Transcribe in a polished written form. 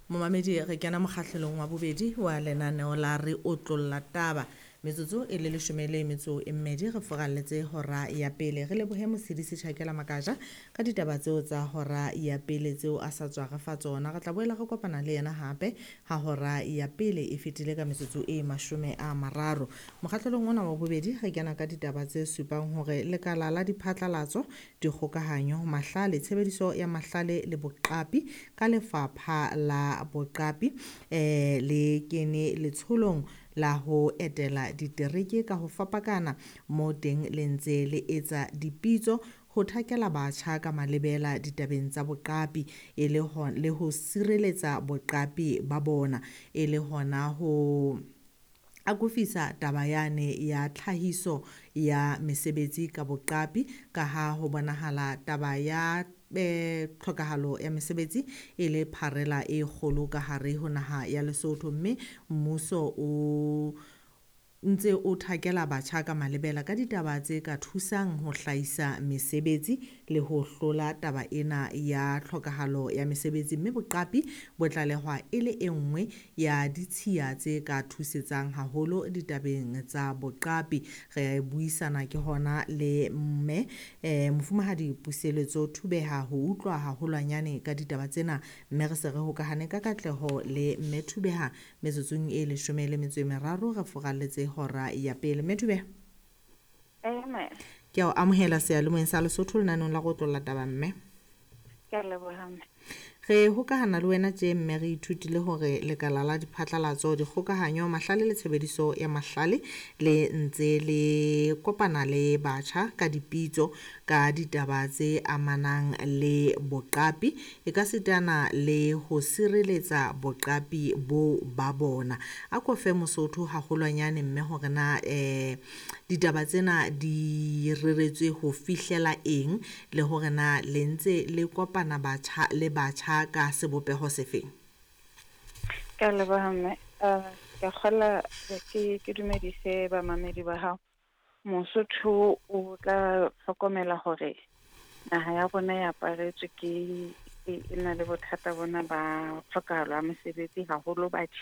Momamedi, re kena mokgahlelong wa bobedi wa lenaneo la Re Otlolla Taba. Metsotso e le leshome le metso e mmedi re furalletse hora ya pele. Re lebohe Mosedisi Tjhakela Makaja ka ditaba tseo tsa hora ya pele tseo a sa tswa re fa tsona. Re tla boela re kopana le yena hape ha hora ya pele e fetile ka metsotso e 30. Mokgahlelong ona wa bobedi re kena ka ditaba tse supang hore lekala la diphatlalatso, dikgokahanyo, mahlale, tshebediso ya mahlale le boqapi ka lefapha la boqapi le kene letsholong la ho etela ditereke ka ho fapakana mo teng le ntse le etsa dipitso ho thakela batjha ka malebela ditabeng tsa boqapi e le ho le ho sireletsa boqapi ba bona e le hona ho akofisa taba yane ya tlhahiso ya mesebetsi ka boqapi ka ha ho bonahala taba ya tlhokahalo ya mesebetsi e le pharela e kgolo ka hare ho naha ya Lesotho, mme mmuso o ntse o thakela batjha ka malebela ka ditaba tse ka thusang ho hlahisa mesebetsi le ho hlola taba ena ya tlhokahalo ya mesebetsi, mme boqapi bo tlalehwa e le e nngwe ya ditshiya tse ka thusetsang haholo ditabeng tsa boqapi. Re buisana ke hona le mme mofumahadi Puseletso Thubeha ho utlwa haholwanyane ka ditaba tsena, mme re se re hokahane ka katleho le mme Thubeha metsotsong e 13 re furalletse hora ya pele. Mme Thubeha, ke a o amohela seyalemoyeng sa Lesotho lenaneong la Re Otlolla Taba mme. Ke a leboha mme. Re hokahana le wena tje mme re ithutile hore lekala la diphatlalatso, dikgokahanyo, mahlale le tshebediso ya mahlale le ntse le kopana le batjha ka dipitso ka ditaba tse amanang le boqapi e ka sitana le ho sireletsa boqapi bo ba bona. A ko fe Mosotho haholwanyane mme hore na ditaba tsena di reretswe ho fihlela eng le hore na le ntse le kopana batjha le batjha ka sebopeho sefeng? Ke a leboha mme. Ke a kgola ke dumedise bamamedi ba hao. Mosotho o tla hlokomela hore naha ya rona e aparetswe ke e na le bothata bona ba tlhokahalo ya mesebetsi haholo batjheng.